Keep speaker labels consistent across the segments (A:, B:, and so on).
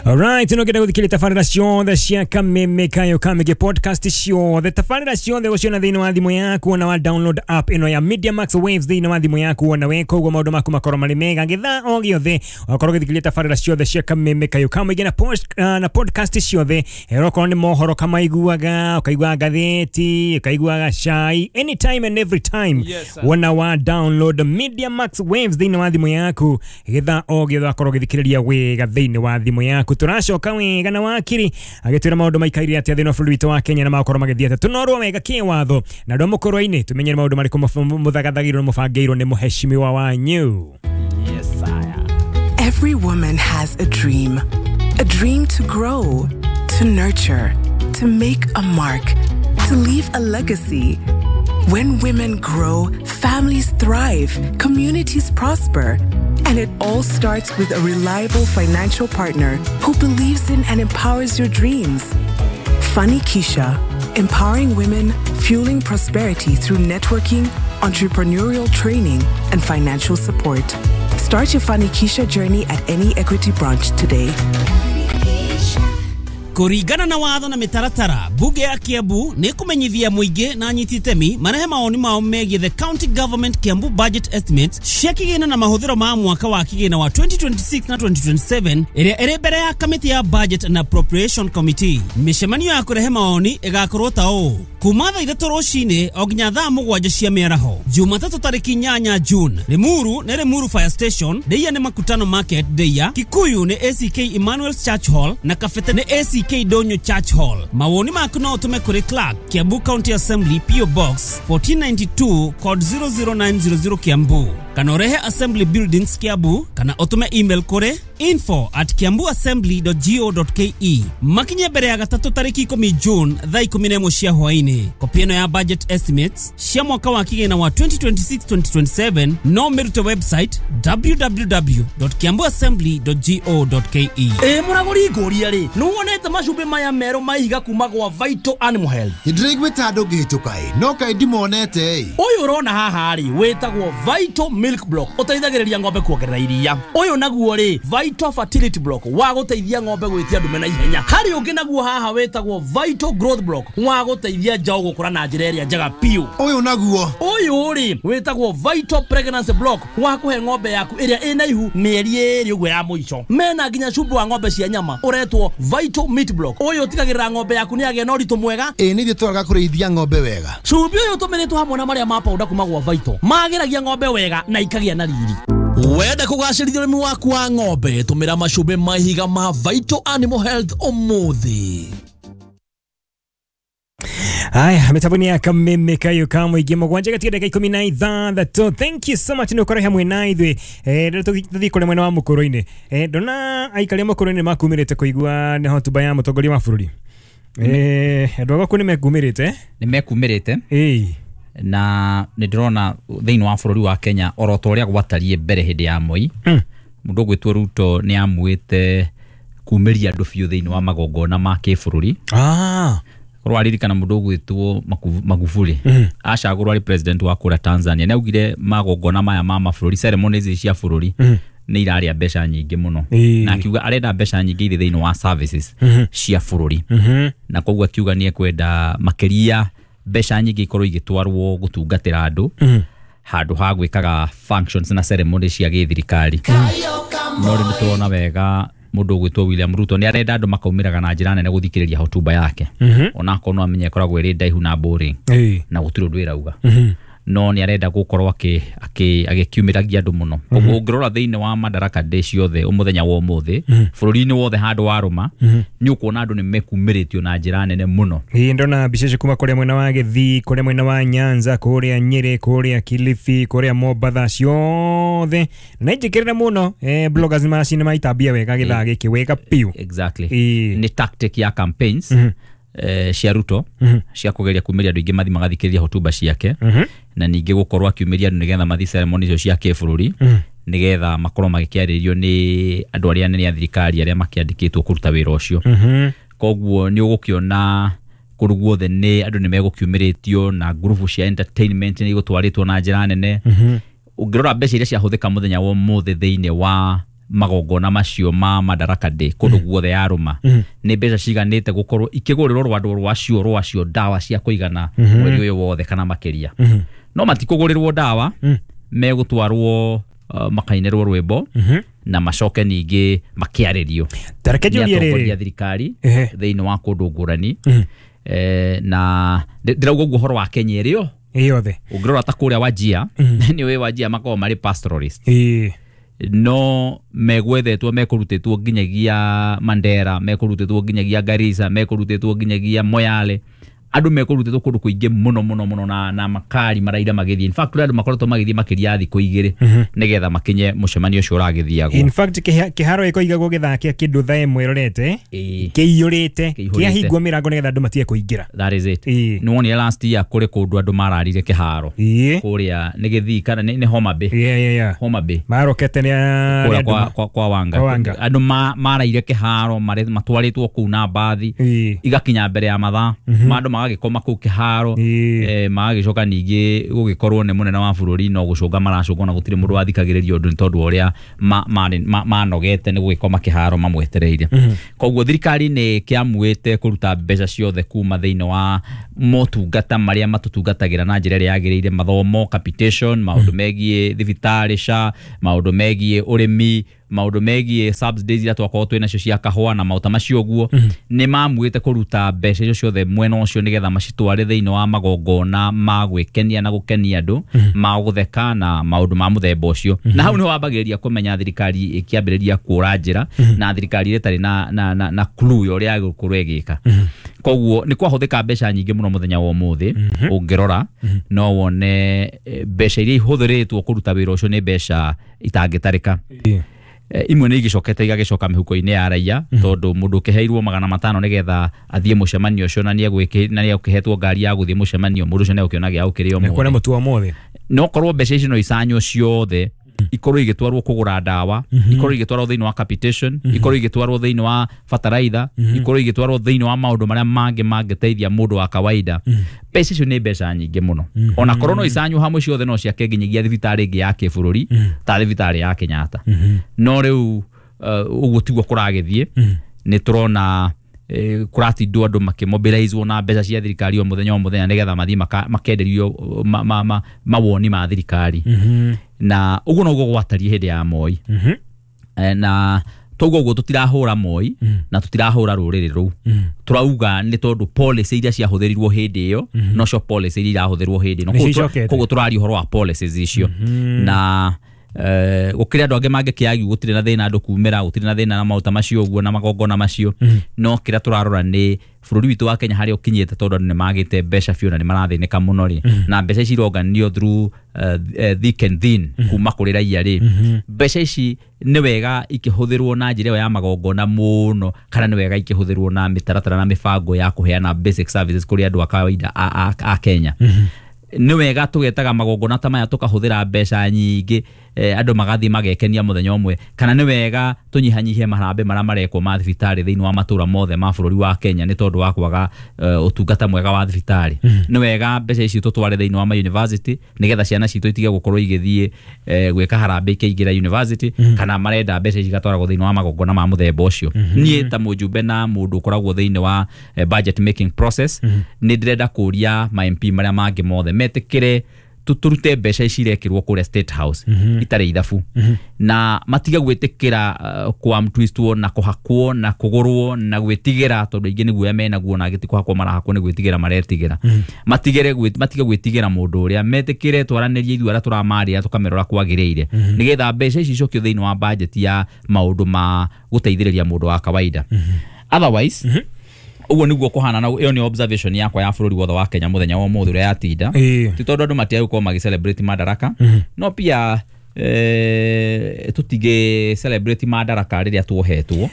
A: Alright, no gũthikĩrĩria tabarĩra ciothe cia Kameme Kayo Kamĩgĩ podcast ciothe, tabarĩra ciothe gũciona thĩinĩ wa thimũ yaku ona wa download app ĩno ya Media Max Waves thĩinĩ wa thimũ yaku ona weka ũguo maũndũ maku makorwo marĩ mega gĩthaa o gĩothe wakorwo ũgĩthikĩrĩria tabarĩra ciothe cia Kameme Kayo Kamĩgĩ na, na podcast ciothe. Okorwo nĩ mohoro kamaiguaga, ũkaigua ngathĩti, ũkaiguaga cai, anytime and every time.
B: Yes, sir.
A: Wona wa download Media Max Waves thĩinĩ wa thimũ yaku gĩthaa o gĩothe wakorwo ũgĩthikĩrĩria wega thĩinĩ wa thimũ yaku. Tũracoka wega na wakiri agĩtwĩra maũndũ maikaire atĩa thĩinĩ wa bũrũri witũ wa Kenya na magakorwo magĩthiĩ atĩa tũnorwo wega kĩwatho na andũ a mũkũrwa-inĩ tũmenye nĩ maũndũ marĩkũ mũthagathagĩirwo na mũbangĩirwo nĩ mũheshimiwa wanyu.
B: Yes, sir.
C: Every woman has a dream. A dream to grow, to nurture, to make a mark, to leave a legacy. When women grow, families thrive, communities prosper. And it all starts with a reliable financial partner who believes in and empowers your dreams. Funny Keisha, empowering women, fueling prosperity through networking, entrepreneurial training, and financial support. Start your Funny Keisha journey at any Equity branch today.
D: Kũringana na watho na mĩtaratara, bunge ya Kiambu nĩ kũmenyithia mũingĩ na anyiti itemi marehe mawoni mao megiĩ the county government Kiambu budget estimates cia kĩgĩna na mahũthĩro ma mwaka wa kĩgĩna wa 2026 na 2027 ĩrĩa ĩrĩ mbere ya kamĩtĩ ya budget and appropriation committee. Mĩcemanio ya kũrehe mawoni ĩgakorwo ta ũũ: kuma thaa 3 rũcinĩ o nginya thaa 7 cia mĩaraho, Jumatatũ tarĩki 8 June. Limuru nĩ Limuru Fire Station, Ndeia nĩ Makutano Market Ndeia, Kikuyu nĩ ACK Emmanuel's Church Hall na Kabete nĩ ACK Donyo Church Hall. Mawoni maku no ũtũme kũrĩ Clerk, Kiambu County Assembly, PO Box 1492, code 00900, Kiambu, kana ũrehe Assembly Buildings, Kiambu, kana ũtũme email kũrĩ info@kiambuassembly.go.ke. Makinye mbere ya gatatũ tarĩki 10 June thaa 11 cia hwaĩ-inĩ. Kopi ĩno ya budget estimates cia mwaka wa kĩgĩna wa 2026-2027 no mĩrute website www.kiambuassembly.go.ke.
E: Ĩ mũragũri, ngũria rĩ, nĩ wonete macumbĩ maya merũ ma ihiga kuma gwa Vital Animal Health?
F: Nĩndĩraiguĩte andũ ngĩhĩtũka ĩ, no kaĩ ndimonete ĩ.
E: Ũyũ ũrona haha rĩ, wĩtagwo Vital Milk Block, ũteithagĩrĩria ng'ombe kuongerera iria. Ũyũ naguo rĩ, Vital Fertility Block, wa gũteithia ng'ombe gwĩtia ndume na ihenya. Harĩ ũngĩ naguo haha wĩtagwo Vital Growth Block, wa gũteithia njaũ gũkũra na njĩra ĩrĩa njega biũ.
F: Ũyũ naguo?
E: Ũyũ rĩ, wĩtagwo Vital Pregnancy Block, wa kũhe ng'ombe yaku ĩrĩa ĩna ihu mĩeri 2 ũguo ya mũico. Mena nginya cumbĩ wa ng'ombe cia nyama ũretwo Vital Meat Block. Ũyũ ũtigagĩrĩra ng'ombe yaku nĩ yagĩa na ũritũ mwega.
F: Ĩ nĩ ithuĩ twaraga kũrĩithia ng'ombe wega.
E: Cumbĩ ũyũ ũtũmĩrĩtwo hamwe na marĩa ma powder kuma gwa Vital magĩragia ng'ombe wega na ikagĩa na riri. Wenda kũgacĩrithia ũrĩmi waku wa ng'ombe, tũmĩra macumbĩ ma ihiga ma Vital Animal Health ũmũthĩ.
A: Haya, mitambo ni ya Kameme Kayo ka Mũingĩ, 7 gatia ndagĩka 16. Thank you so much nĩ ũkorwo hamwe na ithuĩ. Rĩrĩa tũthiĩ kũrĩa mwena wa mũkũrũ-inĩ, ndona aikari a mũkũrũ-inĩ makumĩrĩte kũigua nĩ hotuba ya mũtongoria wa bũrũri. Andũ a gwaku nĩ mekumĩrĩte?
G: Nĩ mekumĩrĩte. Na nĩ ndĩrona thĩinĩ wa bũrũri wa Kenya oro ta ũrĩa gwatariĩ mbere hĩndĩ ya Moi, mũndũ ũgwĩtwo Ruto nĩ amuĩte kumĩria andũ biũ thĩinĩ wa magongona ma kĩbũrũri. Korwo waririkana, mũndũ ũgwĩtwo Magufuli acagũrwo arĩ president wa kũrĩa Tanzania, nĩ augire magongona maya ma mabũrũri, ceremonies cia bũrũri, nĩ irarĩa mbeca nyingĩ mũno, na akiuga arenda mbeca nyingĩ irĩ thĩinĩ wa services cia bũrũri, na koguo akiuga nĩ ekwenda makĩria mbeca nyingĩ ikorwo igĩtwarwo gũtungatĩra andũ handũ ha gwĩkaga functions na ceremony cia gĩthirikari. No rĩu nĩtũrona wega mũndũ ũgwĩtwo William Ruto nĩ arenda andũ makaumĩraga na njĩra nene gũthikĩrĩria hotuba yake, onakorwo no amenye ĩkoragwo ĩrĩ ndaihu na boring na gũtirĩ ũndũ ĩrauga, no nĩ arenda gũkorwo agĩkiumĩragia andũ mũno. Koguo ũngĩrora thĩinĩ wa Madaraka Day ciothe mũthenya wa ũmũthĩ bũrũri-inĩ wothe handũ warũma, nĩ ũkuona andũ nĩ mekumĩrĩtio na njĩra nene mũno.
A: Ĩĩ, ndona mbica icio kuma kũrĩa mwena wa Gĩthii, kũrĩa mwena wa Nyanza, kũrĩa Nyĩrĩ, kũrĩa Kilifi, kũrĩa Mombatha ciothe na njĩkĩrĩre mũno. Bloggers nĩ macini maitambia wega gĩthaa gĩkĩ wega biũ.
G: Exactly. Nĩ tactic ya campaigns cia Ruto cia kũgeria kumĩria andũ aingĩ mathi magathikĩrĩria hotuba ciake, na ningĩ gũkorwo akiumĩria andũ nĩgetha mathi ceremony icio cia kĩbũrũri, nĩgetha makorwo magĩkĩarĩrio nĩ andũ arĩa anene a thirikari arĩa makĩandĩkĩtwo kũruta wĩra ũcio. Koguo nĩ ũgũkĩona kũndũ guothe nĩ andũ nĩ megũkiumĩrĩtio na ngurubu cia entertainment nĩ igũtwarĩtwo na njĩra nene. Ũngĩrora mbeca iria ciahũthĩka mũthenya wa ũmũthĩ thĩinĩ wa magongona macio ma Madaraka Day kũndũ guothe yarũma nĩ mbeca ciganĩte gũkorwo ikĩgũrĩrwo rwandũ rwacio ndawa cia kũigana mweri ũyũ wothe kana makĩria. No matikũgũrĩrwo ndawa, megũtwarwo makainĩrwo rwĩmbo na macoke ningĩ makĩarĩrio nĩ atongoria a thirikari thĩinĩ wa kũndũ ngũrani. Na ndĩrauga ũguo ũhoro wa Kenya ĩrĩ
A: yothe.
G: Ũngĩrora ta kũrĩa Wajia, nĩ ũĩ Wajia makoragwo marĩ pastoralist, no megwethetwo mekũrutĩtwo nginyagia Mandera, mekũrutĩtwo nginyagia Garissa, mekũrutĩtwo nginyagia Moyale. Andũ mekũrutĩtwo kũndũ kũingĩ mũno mũno mũno na makari maraira magĩthiĩ. In fact kũrĩ andũ makoretwo magĩthiĩ makĩria ya thikũ 2 nĩgetha makinye mũcemanio ũcio ũragĩthiagwo.
A: In fact kĩharo gĩkoigagwo gĩthaa kĩa kĩndũ thaa 1 ĩrorete kĩiyũrĩte, kĩahingwo mĩrango nĩgetha andũ matige kũingĩra.
G: That is it. Nĩ wonire last year kũrĩ kũndũ andũ mararire kĩharo kũrĩa nĩ Gĩthii kana nĩ Homa Bay. Homa Bay
A: marokete nĩ
G: kũrĩa kwa Wanga. Andũ maraire kĩharo matwarĩtwo kũu na mbathi igakinya mbere ya mathaa, andũ magagĩkoma kũu kĩharo, magagĩcoka ningĩ gũgĩkorwo nĩ mũnene wa bũrũri no gũcũnga maracũnga na gũtirĩ mũndũ wathikagĩrĩria ũndũ nĩ tondũ ũrĩa manogete nĩ gũgĩkoma kĩharo mamwetereire. Koguo thirikari nĩ kĩamuĩte kũruta mbeca ciothe kuma thĩinĩ wa motungata marĩa matũtungatagĩra na njĩra ĩrĩa yagĩrĩire, mathomo, capitation, maũndũ megiĩ thibitarĩ SHA, maũndũ megiĩ ũrĩmi, maũndũ megiĩ subsidies iria twakorwo twĩ nacio cia kahũa na maũta macio ũguo. Nĩ mamuĩte kũruta mbeca icio ciothe mwena ũcio nĩgetha macitware thĩinĩ wa magongona ma gwĩkenia na gũkenia andũ, ma gũtheka na maũndũ ma mũthemba ũcio. Na hau nĩho wambagĩrĩria kũmenya thirikari ĩkĩambĩrĩria kũra njĩra na thirikari ĩtarĩ na clue ya ũrĩa ĩgũkorwo ĩgĩka. Koguo nĩ kwahũthĩka mbeca nyingĩ mũno mũthenya wa ũmũthĩ. Ũngĩrora no wone mbeca iria ihũthĩrĩtwo kũruta wĩra ũcio nĩ mbeca itangĩtarĩka. Imwe nĩ igĩcokete igagĩcoka mĩhuko-inĩ ya raia, tondũ mũndũ ũkĩheirwo 500 nĩgetha athiĩ mũcemanio ũcio na nĩegũkĩhetwo ngari ya gũthiĩ mũcemanio, mũndũ ũcio nĩegũkĩona gĩa gũkĩrĩa ũmũthĩ. No korwo mbeca icio no icanywo ciothe ikorwo igĩtwarwo kũgũra ndawa, ikorwo igĩtwarwo thĩinĩ wa capitation, ikorwo igĩtwarwo thĩinĩ wa bataraitha, ikorwo igĩtwarwo thĩinĩ wa maũndũ marĩa mangĩ mangĩteithia mũndũ wa kawaida. Mbeca icio nĩ mbeca nyingĩ mũno. Ona korwo no icanywo hamwe ciothe no ciake nginyagia thibitarĩ ĩngĩ ya kĩbũrũri ta thibitarĩ ya Kenyatta. No rĩu ũguo tiguo kũragĩthiĩ. Nĩ tũrona kũratindwo andũ makĩmobilizwo na mbeca cia thirikari o mũthenya o mũthenya nĩgetha mathiĩ makenderio mawoni ma thirikari. Na ũguo noguo gwatariĩ hĩndĩ ya Moi. Na toguo ũguo tũtirahũra Moi na tũtirahũra rũrĩrĩ rũu. Tũrauga nĩ tondũ policy iria ciahũthĩrirwo hĩndĩ ĩyo nocio policy iria irahũthĩrwo hĩndĩ ĩno. Koguo tũraria ũhoro wa policies icio. Na gũkĩrĩ andũ angĩ mangĩkĩagiu gũtirĩ na thĩna andũ kumĩra, gũtirĩ na thĩna na maũta macio ũguo na magongona macio. No kĩrĩa tũrarora nĩ bũrũri witũ wa Kenya harĩa ũkinyĩte, tondũ andũ nĩ magĩte mbeca biũ na nĩ marathĩnĩka mũno rĩ, na mbeca ici ironganio through thick and thin kuma kũrĩ raia rĩ, mbeca ici nĩ wega ikĩhũthĩrwo na njĩra ĩyo ya magongona mũno, kana nĩ wega ikĩhũthĩrwo na mĩtaratara na mĩbango ya kũheana basic services kũrĩ andũ a kawaida a Kenya. Nĩ wega tũgetaga magongona ta maya tũkahũthĩra mbeca nyingĩ, andũ magathiĩ magekenia mũthenya ũmwe, kana nĩ wega tũnyihanyihie marambe marĩa marekwo ma thibitarĩ thĩinĩ wa matũra mothe ma bũrũri wa Kenya nĩ tondũ wa kwaga ũtungata mwega wa thibitarĩ. Nĩ wega mbeca ici tũtware thĩinĩ wa ma university nĩgetha ciana citũ itige gũkorwo igĩthiĩ gwĩka harambee ikĩingĩra university, kana marenda mbeca ici igatwaragwo thĩinĩ wa magongona ma mũthemba ũcio. Niĩ ta mũjumbe na mũndũ ũkoragwo thĩinĩ wa budget making process, nĩ ndĩrenda kũria ma MP marĩa mangĩ mothe metĩkĩre tũrute mbeca ici irekĩrwo kũrĩa State House itarĩ ithabu, na matige gwĩtĩkĩra kwamtwistwo na kũhakwo na kũgũrwo na gwĩtigĩra, tondũ aingĩ nĩ guoya menaguo na angĩ ti kũhakwo marahakwo nĩ gwĩtigĩra maretigĩra. Matige gwĩtigĩra mũndũ ũrĩa, metĩkĩre twaranĩrie ithuĩ arĩa tũramarĩra tũkamerora kwagĩrĩire, nĩgetha mbeca ici icokio thĩinĩ wa budget ya maũndũ ma gũteithĩrĩria mũndũ wa kawaida. Otherwise ũguo nĩguo kũhana, na ĩyo nĩ observation yakwa ya bũrũri wothe wa Kenya mũthenya wa ũmũthĩ ũrĩa yatinda. Ti tondũ andũ matiagĩ gũkorwo magĩ celebrate Madaraka, no pia tũtingĩ celebrate Madaraka rĩrĩa tuohetwo,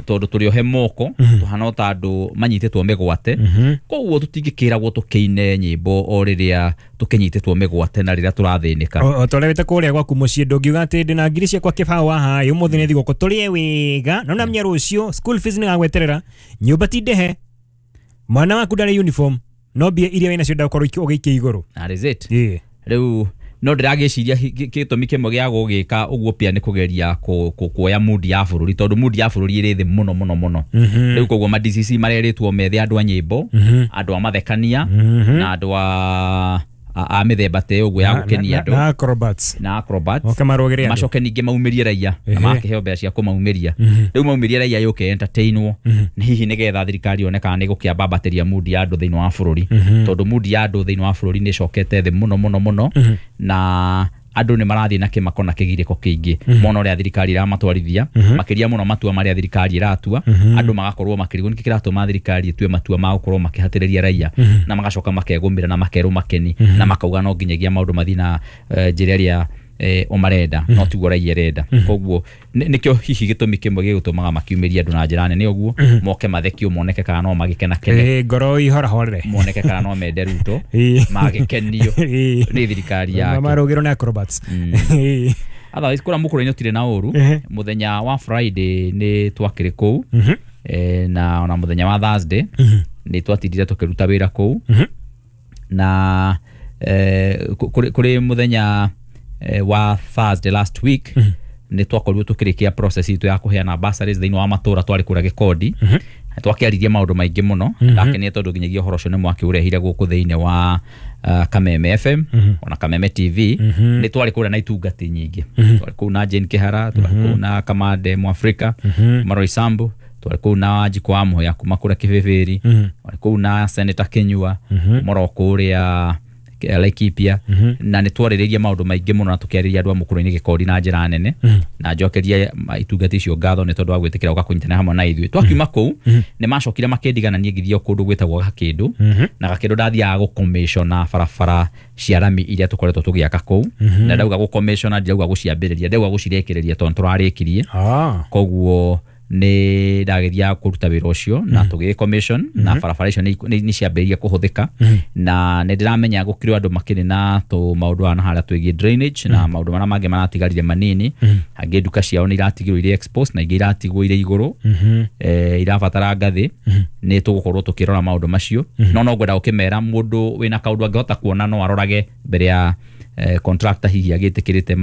G: tondũ tũrĩ ohe moko tũhana ta andũ manyitĩtwo mĩgwate. Koguo tũtingĩkĩragwo tũkĩine nyĩmbo o rĩrĩa tũkĩnyitĩtwo mĩgwate na rĩrĩa tũrathĩnĩka.
A: O ta ũrĩa wĩte kũrĩa gwaku mũciĩ ndũngiuga atĩ ndĩna ngiri ciakwa kĩbaũ haha ũmũthĩ nĩ thigũkũ tũrĩe wega, no namenya rũciũ school fees nĩ gagweterera, nyũmba ti ndĩhe, mwana waku ndarĩ uniform, no mbia iria wĩnacio ndagũkorwo ũgĩikia igũrũ.
G: That is it. Rĩu No ndĩragĩciria gĩtũmi kĩmwe gĩa gũgĩka ũguo pia nĩ kũgeria kuoya mood ya bũrũri, tondũ mood ya bũrũri ĩrĩ thĩ mũno mũno mũno. Rĩu koguo ma DCC marerĩtwo methe andũ a nyĩmbo, andũ a mathekania, na andũ a mĩthemba ta ĩyo ũguo ya gũkenia andũ
A: na acrobats,
G: na acrobats.
A: Oke marũgĩre andũ.
G: Macoke ningĩ maumĩrie raia na makĩheo mbeca cia kũmaumĩria. Rĩu maumĩrie raia yũke entertainwo, nĩ hihi nĩgetha thirikari yone kana nĩ gũkĩambambatĩria mood ya andũ thĩinĩ wa bũrũri, tondũ mood ya andũ thĩinĩ wa bũrũri nĩ ĩcokete thĩ mũno mũno mũno, na andũ nĩ marathiĩ na kĩmako na kĩgirĩko kĩingĩ mona ũrĩa thirikari ĩramatwarithia, makĩria mũno matua marĩa thirikari ĩratua. Andũ magakorwo makĩrigwo nĩkĩ kĩratũma thirikari ĩtue matua ma gũkorwo makĩhatĩrĩria raia, na magacoka makegũmĩra na makerwo makeni, na makauga no nginyagia maũndũ mathiĩ na njĩra ĩrĩa o marenda, no tiguo raia ĩrenda. Koguo nĩkĩo hihi gĩtũmi kĩmwe gĩgũtũmaga makiumĩria andũ na njĩra nene ũguo, moke mathekio, moneke kana no magĩkenakene,
A: Ngoro ihorahorere,
G: moneke kana no mende Ruto, magĩkenio nĩ thirikari yake.
A: Marũgĩrwo nĩ acrobats.
G: Otherwise kũrĩa mũkũrũ-inĩ ũtirĩ na ũru. Mũthenya wa Friday nĩ twakĩrĩ kũu, na ona mũthenya wa Thursday nĩ twatindire tũkĩruta wĩra kũu, na kũrĩ mũthenya wa Thursday last week nĩ twakorirwo tũkĩrĩkia process itũ ya kũheana bursaries thĩinĩ wa matũra. Twarĩ kũrĩa Gĩkondi, twakĩaririe maũndũ maingĩ mũno. Ndakenire tondũ nginyagia ũhoro ũcio nĩ mwakĩũrehire gũkũ thĩinĩ wa Kameme FM ona Kameme TV. Nĩ twarĩ kũrĩa na itungati nyingĩ, twarĩ kũu na Jane Kĩhara, twarĩ kũu na Kamande Mwafrika, Maroi Sambu, twarĩ kũu na Wanjikũ wa Mũhĩa kuma kũrĩa Kĩbĩbĩri, twarĩ kũu na Senator Kĩnyua moro kũrĩa Laikipia, na nĩ twarĩrĩria maũndũ maingĩ mũno na tũkĩarĩria andũ a mũkũrũ-inĩ Gĩkondi na njĩra nene, na njokerie itungati icio ngatho nĩ tondũ wa gwĩtĩkĩra gũka kũnyitanĩra hamwe na ithuĩ. Twakiuma kũu nĩ macokire makĩndigana niĩ ngĩthiĩ o kũndũ gwĩtagwo Gakĩndũ, na Gakĩndũ ndathiaga gũcommissiona barabara cia rami iria tũkoretwo tũgĩaka kũu, na ndauga gũcommissiona ndirauga gũciambĩrĩria, ndauga gũcirĩkĩrĩria tondũ tũrarĩkirie. Koguo nĩ ndagĩthiaga kũruta wĩra ũcio na tũgĩ commission, na barabara icio nĩ ciambĩrĩirie kũhũthĩka, na nĩ ndĩramenya gũkĩrĩ andũ makĩrĩ na tũ maũndũ na harĩa twĩgiĩ drainage na maũndũ marĩa mangĩ maratigarire manini. Angĩ nduka ciao nĩ iratigirwo irĩ exposed na ingĩ iratigwo irĩ igũrũ, irabatara ngathĩ. Nĩ tũgũkorwo tũkĩrora maũndũ macio, no ngwenda gũkĩmera mũndũ wĩna kaũndũ angĩhota kuona no arorage mbere ya contractor hihi agĩtĩkĩrĩte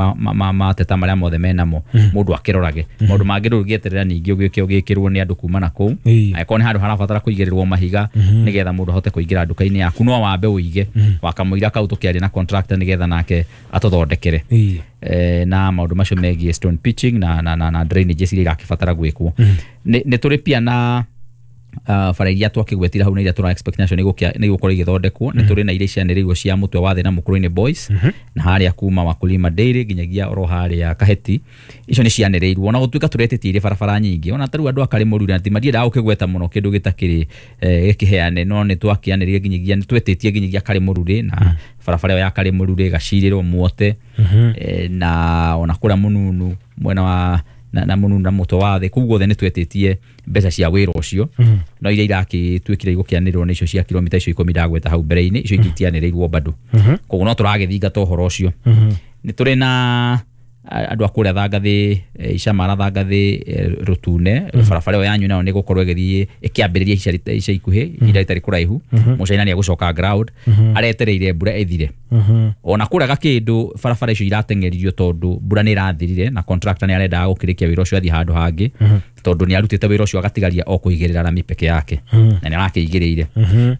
G: mateta marĩa mothe menamo, mũndũ akĩrorage maũndũ mangĩ. Ndũngĩeterera ningĩ ũgĩũke ũgĩkĩrwo nĩ andũ kuma na kũu. Angĩkorwo nĩ handũ harabatara kũigĩrĩrwo mahiga nĩgetha mũndũ ahote kũingĩra nduka-inĩ yaku, no wambe ũige wakamũira kau tũkĩaria na contractor nĩgetha nake atũthondekere, na maũndũ macio megiĩ stone pitching na drainages iria irakĩbatara gwĩkwo. Nĩ tũrĩ pia na bara iria twakĩgwetire hau na iria tũra expect nacio nĩ igũkorwo igĩthondekwo. Nĩ tũrĩ na iria cianĩrĩirwo cia mũtwe wa thĩ na mũkũrũ-inĩ boys, na harĩa kuma Wakulima Dairy nginyagia oro harĩa Kaheti, icio nĩ cianĩrĩirwo, ona gũtuĩka tũretĩtie irĩ barabara nyingĩ. Ona tarĩu andũ a Karĩmũru na ti madiendaga gũkĩgweta mũno kĩndũ gĩtakĩrĩ gĩkĩheane, no nĩ twakĩanĩrĩire nginyagia nĩ twetĩtie nginyagia Karĩmũrurĩ, na barabara ĩyo ya Karĩmũrurĩ Gacirĩrwo Muote, na ona kũrĩa Mũnunu mwena wa na Mũnunu na mũtwe wa thĩ, kũu guothe nĩ twetĩtie mbeca cia wĩra ũcio, no iria irakĩtuĩkire igũkĩanĩrĩrwo nĩ icio cia kilomita icio 10 ndagweta hau mbere-inĩ, icio ingĩ itianĩrĩirwo bado. Koguo no tũragĩthingata ũhoro ũcio. Nĩ tũrĩ na andũ a kũrĩa Thangathĩ, Icamara Thangathĩ, Rũtune, barabara ĩyo yanyu nayo nĩ ĩgũkorwo ĩgĩthiĩ ĩkĩambĩrĩria ica ikuhĩ, ihinda rĩtarĩ kũraihu. Mũcaina nĩ egũcoka ground, aretereire mbura ĩthire. Ona kũrĩa Gakĩndũ barabara icio irateng'eririo tondũ mbura nĩ ĩrathirire, na contractor nĩ arendaga gũkĩrĩkia wĩra ũcio athiĩ handũ hangĩ, tondũ nĩ arutĩte wĩra ũcio agatigaria o kũigĩrĩra rami peke yake, na nĩ arakĩigĩrĩire.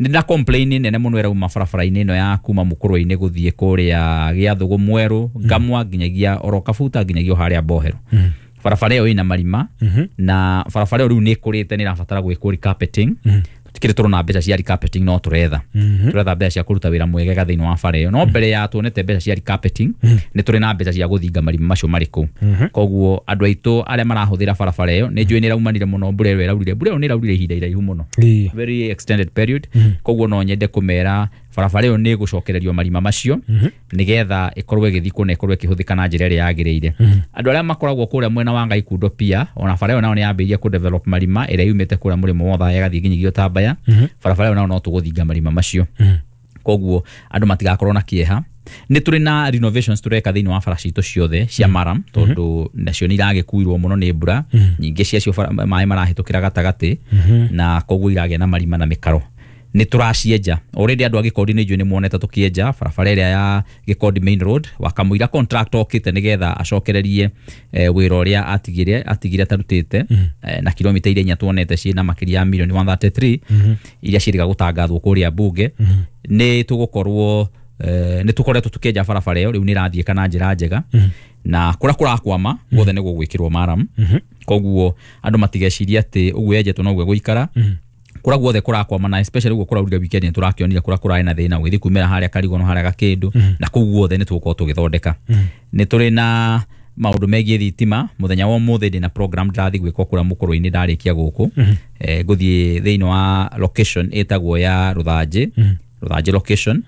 G: Nĩ na complain nene mũno ĩrauma barabara-inĩ ĩno ya kuma mũkũrũ-inĩ gũthiĩ kũrĩa Gĩathũgũ Mwerũ, Ngamwa, nginyagia oro Kabuta, nginyagia harĩa Mbohero. Barabara ĩyo ĩna marima, na barabara ĩyo rĩu nĩ ĩkũrĩte, nĩ ĩrabatara gwĩkwo recarpeting. Tũtikĩrĩ tũrona mbeca cia recarpeting, no tũretha mbeca cia kũruta wĩra mwegega thĩinĩ wa bara ĩyo, no mbere ya tuonete mbeca cia recarpeting nĩ tũrĩ na mbeca cia gũthinga marima macio marĩ kũu. Koguo andũ aitũ arĩa marahũthĩra barabara ĩyo nĩ njũĩ nĩ ĩraumanire mũno mbura ĩyo ĩraurire, mbura ĩyo nĩ ĩraurire ihinda iraihu mũno, very extended period. Koguo no nyende kũmera barabara ĩyo nĩ ĩgũcokererio marima macio nĩgetha ĩkorwo ĩgĩthikwo na ĩkorwo ĩkĩhũthĩka na njĩra ĩrĩa yagĩrĩire. Andũ arĩa makoragwo kũrĩa mwena wa Ngaikundo pia, ona bara ĩyo nayo nĩ yambĩrĩirie kũ develop marima ĩrĩa yumĩte kũrĩa mũrĩmo wa Othaya ĩgathiĩ nginyagia Ũtambaya, barabara ĩyo nayo no tũgũthinga marima macio. Koguo andũ matigakorwo na kĩeha. Nĩ tũrĩ na renovations tũreka thĩinĩ wa bara citũ ciothe cia maram, tondũ nacio nĩ iragĩkuirwo mũno nĩ mbura nyingĩ ciacio, maĩ marahĩtũkĩra gatagatĩ, na koguo iragĩa na marima na mĩkaro. Nĩ tũracienja already. Andũ a Gĩkondi nĩ njũĩ nĩ muonete tũkĩenja barabara ĩrĩa ya Gĩkondi main road wakamũira contractor okĩte nĩgetha acokererie wĩra ũrĩa atigire atarutĩte, na kilomita iria inya tuonete ciĩna makĩria ya milioni 133 iria ciĩrĩga gũtangathwo kũrĩa bunge. Nĩ tũgũkorwo nĩ tũkoretwo tũkĩenja barabara ĩyo, rĩu nĩ ĩrathiĩka na njĩra njega, na kũrĩa kũrakwama guothe nĩ gũgwĩkĩrwo maram. Koguo andũ matigecirie atĩ ũguo yenjetwo noguo gũikara. Kũrĩa guothe kũrakwama, na especially ũguo kũraurire weekend, nĩ tũrakĩonire kũrĩa kũrarĩ na thĩna ũgĩthiĩ kumĩra harĩa Karigono, harĩa Gakĩndũ, na kũu guothe nĩ tũgũkorwo tũgĩthondeka. Nĩ tũrĩ na maũndũ megiĩ thitima. Mũthenya wa ũmũthĩ ndĩna program ndĩrathiĩ gwĩka kũrĩa mũkũrũ-inĩ. Ndarĩkia gũkũ, ngũthiĩ thĩinĩ wa location ĩtagwo ya Rũthanjĩ, Rũthanjĩ location,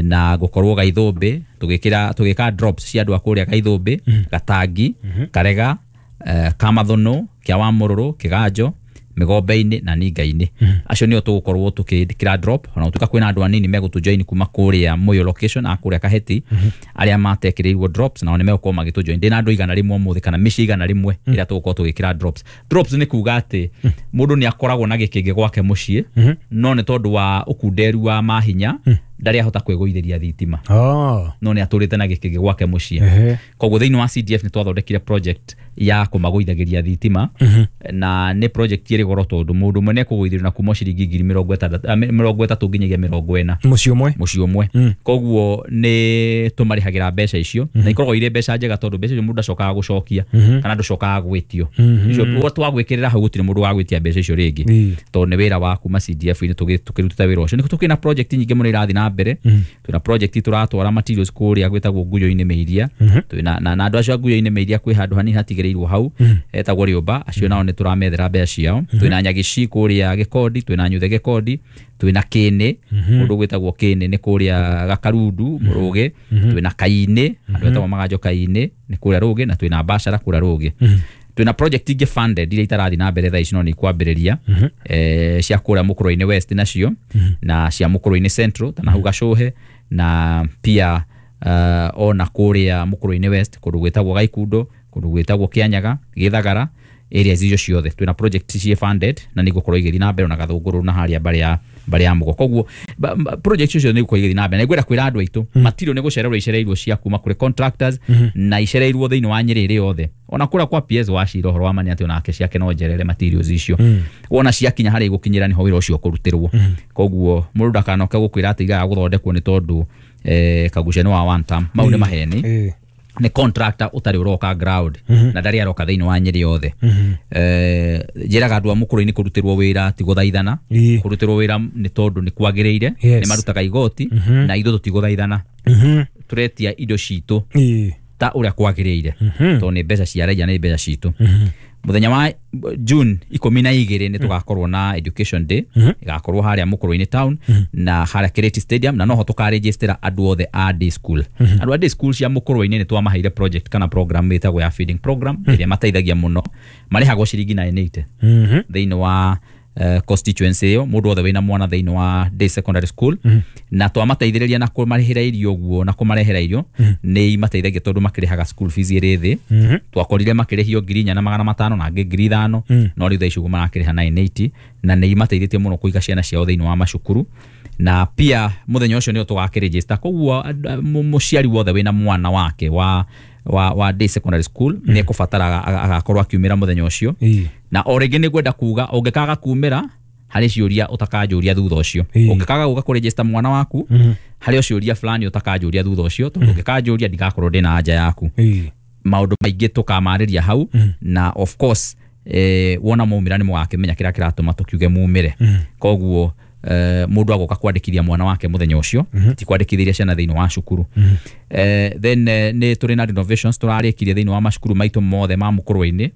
G: na gũkorwo Gaithũmbĩ tũgĩkĩra, tũgĩka drops cia andũ a kũrĩa Gaithũmbĩ, Gatangi, Karega, Kamathũnũ, Kĩa wa Mũrũrũ, Kĩganjo, Mĩgombe-inĩ na Ninga-inĩ. Acio nĩo tũgũkorwo tũkĩkĩra drop, ona gũtuĩka kwĩna andũ anini megũtũjoin kuma kũrĩa Mũyũ location, a kũrĩa Kaheti arĩa matekĩrĩirwo drops, nao nĩ megũkorwo magĩtũjoin. Ndĩna andũ 100 ũmũthĩ kana mĩciĩ 100 ĩrĩa tũgũkorwo tũgĩkĩra drops. Drops nĩ kuga atĩ mũndũ nĩ akoragwo na gĩkĩngĩ gwake mũciĩ, no nĩ tondũ wa ũkunderu wa mahinya ndarĩ ahota kwĩgũithĩria thitima, no nĩ atũrĩte na gĩkĩngĩ gwake mũciĩ. Koguo thĩinĩ wa CDF nĩ twathondekire project ya kũmagũithagĩria thitima, na nĩ project ĩrĩ goro tondũ mũndũ ũmwe nĩ ekũgũithĩrio na kuma ciringi ngiri 60, 30 nginyagia 40.
A: Mũciĩ ũmwe?
G: Mũciĩ ũmwe. Koguo nĩ tũmarĩhagĩra mbeca icio, na ikoragwo irĩ mbeca njega tondũ mbeca icio mũndũ ndacokaga gũcokia kana ndũcokaga gwĩtio. Icio twagwĩkĩrĩra hau, gũtirĩ mũndũ wagwĩtia mbeca icio rĩngĩ, tondũ nĩ wĩra wa kuma CDF-inĩ tũkĩrutĩte wĩra ũcio. Nĩ tũkĩrĩ na project nyingĩ mũno irathiĩ na mbere. Twĩna project tũratwara materials kũrĩa gwĩtagwo Nguyo-inĩ Mĩiria. Twĩna na andũ acio a Nguyo-inĩ Mĩiria, kwĩ handũ hanini hatigĩrĩirwo hau etagwo Rĩũmba, acio nao nĩ tũramethera mbeca ciao. Twĩna Nyagici kũrĩa Gĩkondi, twĩna Nyuthe Gĩkondi, twĩna Kĩnĩ, kũndũ gwĩtagwo Kĩnĩ nĩ kũrĩa Gakarundu Rũgĩ, twĩna Kainĩ, andũ etagwo Maganjo Kainĩ nĩ kũrĩa Rũgĩ, na twĩna Bashara kũrĩa Rũgĩ. Twĩna project ingĩ funded iria itarathiĩ na mbere thaa ici no nĩ ikwambĩrĩria, cia kũrĩa Mũkũrũ-inĩ West nacio na cia Mũkũrũ-inĩ Central ta na hau Gacũhe, na pia ona kũrĩa Mũkũrũ-inĩ West kũndũ gwĩtagwo Gaikundo, kũndũ gwĩtagwo Kĩanyaga, Gĩthagara, areas icio ciothe twĩna project ciĩ funded na nĩ igũkorwo igĩthiĩ na mbere, ona Gathũngũrũ na harĩa mbarĩ ya Mũgo. Koguo project icio nĩ igũkorwo igĩthiĩ na mbere, na ngwenda kwĩra andũ aitũ matirĩ nĩ gũcererwo icereirwo cia kuma kũrĩ contractors, na icereirwo thĩinĩ wa Nyĩrĩ ĩrĩ yothe, ona kũrĩa kwa PS wa Cira ũhoro wa mani atĩ onake ciake no njerere materials icio. Wona ciakinya harĩa igũkinyĩra nĩho wĩra ũcio ũkũrutĩrwo. Koguo mũndũ ndakanoke gũkwĩra atĩ igaga gũthondekwo nĩ tondũ Kagucia nĩ wa one term. Mau nĩ maheni. Nĩ contractor ũtarĩ ũroka ground na ndarĩ aroka thĩinĩ wa Nyĩrĩ yothe. Njĩraga andũ a Mũkũrũ-inĩ kũrutĩrwo wĩra ti gũthaithana. Kũrutĩrwo wĩra nĩ tondũ nĩ kwagĩrĩire. Nĩ marutaga igoti, na ithuĩ tũtigũthaithana, tũretia indo citũ ta ũrĩa kwagĩrĩire, tondũ nĩ mbeca cia raia, nĩ mbeca citũ. Mũthenya wa June 12 nĩ tũgakorwo na education day, ĩgakorwo harĩa Mũkũrũ-inĩ town na harĩa Kireti Stadium, na noho tũkarejistera andũ othe a day school. Andũ a day school cia Mũkũrũ-inĩ nĩ twamaheire project kana program ĩtagwo ya feeding program, ĩrĩa mateithagia mũno. Marĩhagwo ciringi 980 thĩinĩ wa constituency ĩyo, mũndũ wothe wĩna mwana thĩinĩ wa day secondary school, na twamateithĩrĩria na kũmarĩhĩra irio ũguo na kũmarehera irio. Nĩ imateithagia tondũ makĩrĩhaga school fees ĩrĩ thĩ. Twakorire makĩrĩhio 4,500 na angĩ 5,000, no rĩu thaa ici ũguo marakĩrĩha 980, na nĩ imateithĩtie mũno kũiga ciana ciao thĩinĩ wa macukuru. Na pia mũthenya ũcio nĩo tũgakĩregister. Koguo mũciari wothe wĩna mwana wake wa day secondary school nĩ ekũbatara agakorwo akiumĩra mũthenya ũcio. Na o rĩngĩ nĩ ngwenda kuga ũngĩkaga kumĩra harĩ ciũria ũtakanjũria thutha ũcio. Ũngĩkaga gũka kũregister mwana waku, harĩ o ciũria fulani ũtakanjũria thutha ũcio, tondũ ũngĩkanjũria ndigakorwo ndĩna anja yaku. Maũndũ maingĩ tũkamarĩria hau, na of course wona maumĩra nĩ mũgakĩmenya kĩrĩa kĩratũma tũkiuge mumĩre. Koguo mũndũ agoka kwandĩkithia mwana wake mũthenya ũcio, ti kwandĩkithĩria ciana thĩinĩ wa cukuru. Then nĩ tũrĩ na renovations tũrarĩkirie thĩinĩ wa macukuru maitũ mothe ma Mũkũrũ-inĩ.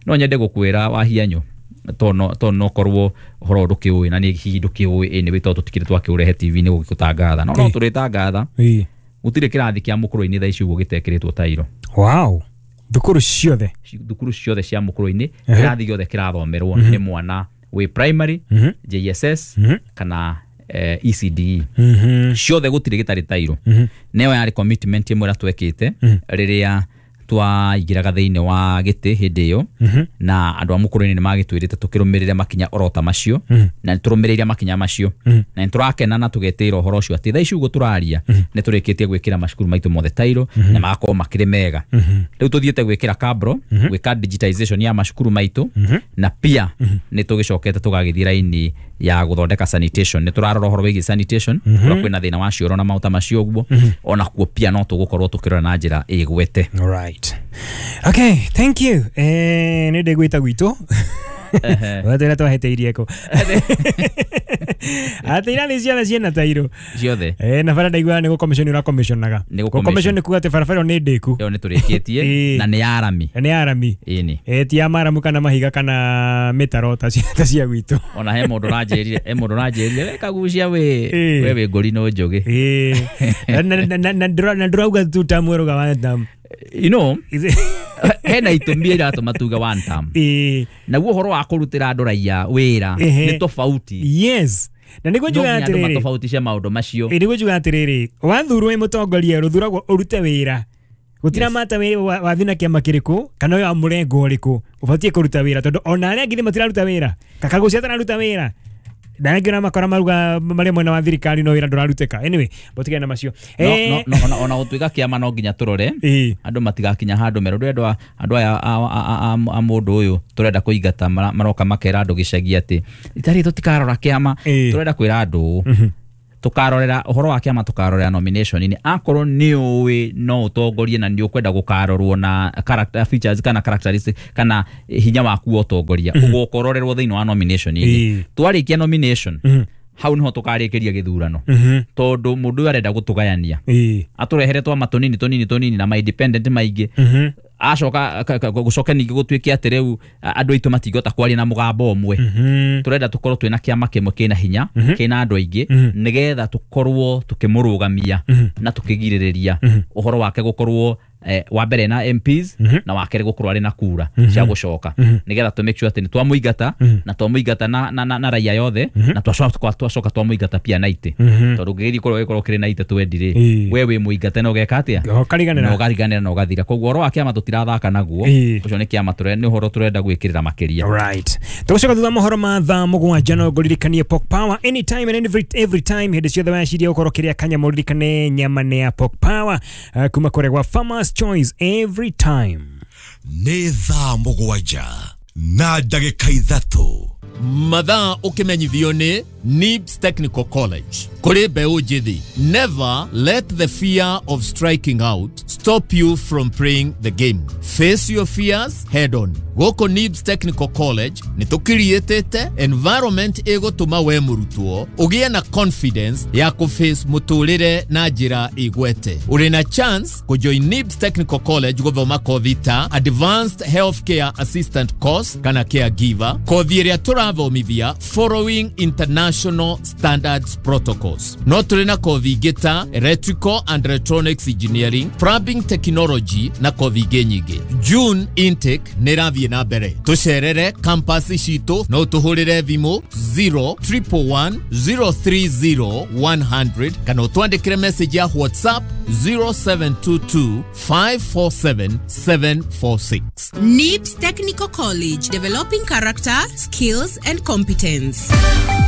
G: No nyende gũkwĩra Wahianyũ, tondũ no korwo ũhoro ũyũ ndũkĩũĩ, na nĩ hihi ndũkĩũĩ anyway, tondũ tũtikĩrĩ twakĩũrehe TV-inĩ gũgĩgũtangatha, no tũrĩtangatha. Gũtirĩ kĩrathi kĩa Mũkũrũ-inĩ thaa ici ũguo gĩtekĩrĩtwo tairo.
A: Wow, thukuru ciothe?
G: Thukuru ciothe cia Mũkũrũ-inĩ, kĩrathi gĩothe kĩrathomerwo nĩ mwana wĩ primary, JSS kana ECDE, ciothe gũtirĩ gĩtarĩ tairo. Nĩyo yarĩ commitment ĩmwe ĩrĩa twekĩte rĩrĩa Twaingĩraga thĩinĩ wa gĩtĩ hĩndĩ ĩyo, na andũ a Mũkũrũinĩ nĩ magĩtwĩrĩte tũkĩrũmĩrĩre makinya orota macio, na nĩ tũrũmĩrĩire makinya macio, na nĩ tũrakena na tũgetĩĩra ũhoro ũcio atĩ thaa ici ũguo tũraria nĩ tũrĩkĩtie gwĩkĩra macukuru maitũ mothe tairo na magakorwo makĩrĩ mega. Rĩu tũthiĩte gwĩkĩra kabro, gwĩka digitization ya macukuru maitũ, na pia nĩ tũgĩcokete tũgagĩthiĩ raini ya gũthondeka sanitation. Nĩ tũrarora ũhoro wĩgiĩ sanitation kũrĩa kwĩna thĩna wa cioro na maũta macio ũguo, ona kuo pia no tũgũkorwo tũkĩrora na njĩra ĩgwete.
A: Alright. Okay, thank you. Nĩ ndĩgwĩta gwitũ. Watwĩra twahĩtĩirie kũ. Atĩ irathi ciothe ciĩna tairo.
G: Ciothe.
A: Na bara ndaiguaga nĩ gũcommission ũrakomissionaga.
G: Nĩ gũcommission.
A: Gũcommission nĩ kuga atĩ barabara ĩyo nĩ ndĩku.
G: Ĩyo nĩ tũrĩkĩtie na nĩ ya rami.
A: Na nĩ ya rami.
G: Ĩni.
A: Ti ya maramu kana mahiga kana mĩtaro ta cia gwitũ.
G: Ona he mũndũ ũranjĩrire, he mũndũ ũranjĩrire, we kagucia we, we wĩ ngũri no njũgĩ.
A: Na ndĩrauga tu term werũga one term.
G: You know, hena itũmi iratũma tuge one term. Naguo ũhoro wa kũrutĩra andũ raia wĩra nĩ tofauti.
A: Yes. Na nĩguo njugaga
G: No nginya andũ
A: atĩrĩrĩ.
G: matofautishe maũndũ macio.
A: Nĩguo njugaga atĩrĩrĩ, wathurwo wĩ mũtongoria rũthuragwo ũrute wĩra. Gũtira mata wathi na kĩama kĩrĩkũ kana wa mũrengo ũrĩkũ, ũbatiĩ kũruta wĩra tondũ ona arĩa angĩ matiraruta wĩra. Kakagucia atararuta wĩra. Na angĩ ona makora maruga marĩa mwena wa thirikari no wĩra ndũrarutĩka. Anyway, mũtigane na macio.
G: No, ona gũtuĩka kĩama no nginya tũrore andũ matigakinya handũ merũ. Ndũrenda andũ aya a mũndũ ũyũ tũrenda kũingata maroka makera andũ gĩcagi atĩ itarĩ tũtikarora kĩama, tũrenda kwĩra andũ tũkarorera ũhoro wa kĩama, tũkarorera nomination-inĩ. Akorwo nĩ ũĩ no ũtongorie na nĩ ũkwenda gũkarorwo na character features kana characteristics kana hinya waku wa ũtongoria, ũgũkororerwo thĩinĩ wa nomination-inĩ. Twarĩkia nomination, hau niho tũkarĩkĩria gĩthurano, tondũ mũndũ ũyũ arenda gũtũgayania, atũrehere twama tũnini tũnini tũnini na ma independent maingĩ, acoka gũcoke ningĩ gũtuĩke atĩ rĩu andũ aitũ matingĩhota kwaria na mũgambo ũmwe. Tũrenda tũkorwo twĩna kĩama kĩmwe kĩna hinya, kĩna andũ aingĩ, nĩgetha tũkorwo tũkĩmũrũgamia na tũkĩgirĩrĩria ũhoro wake gũkorwo wa mbere na MPs na wa kerĩ gũkorwo arĩ na kura cia gũcoka, nĩgetha tũ make sure atĩ nĩ twamũingata na twamũingata na raia yothe, na twacoka twamũingata pia na itĩ, tondũ ũngĩgĩthiĩ kũrĩa ũgĩkorwo ũkĩrĩ na itĩ twendi rĩ, we wĩ mũingate na ũgeka atĩa?
A: Ũkariganĩra.
G: Na ũkariganĩra na ũgathira. Koguo ũhoro wa kĩama tũtirathaka naguo, ũcio nĩ kĩama nĩ ũhoro tũrenda gwĩkĩrĩra makĩria.
A: Alright. Tũgũcoka thutha mohoro ma thaa 7 no ngũririkanie Pork Power anytime and every time hĩndĩ ciothe waciria ũkorwo kĩrĩa kanyama ũririkane nyama nĩ ya Pork Power, kuma kũrĩa gwa Farmers Choice every time.
B: Nĩ thaa 7 na ndagĩka 3.
H: Mathaa ũkĩmenyithio nĩ NIBS Technical College. Kũrĩ mbeũ njĩthĩ, never let the fear of striking out stop you from playing the game. Face your fears head on. Gũkũ NIBS Technical College nĩ tũkiriĩtĩte environment ĩgũtũma we mũrutwo ũgĩe na confidence ya kũface mũtũrĩre na njĩra ĩgwete. Ũrĩ na chance kũjoin NIBS Technical College gũthoma kothi ta Advanced Healthcare Assistant Course kana Caregiver, kothi ĩrĩa tũrathomithia following international standards protocols. No tũrĩ na kothi ingĩ ta Electrical and Electronics Engineering, Plumbing Technology na kothi ingĩ nyingĩ. June intake nĩ ĩrathiĩ na mbere. Tũcerere campus citũ no ũtũhũrĩre thimũ 0 111 030 100 kana ũtwandĩkĩre message ya WhatsApp 0722 547 746.
I: NIBS Technical College, developing character, skills, and competence.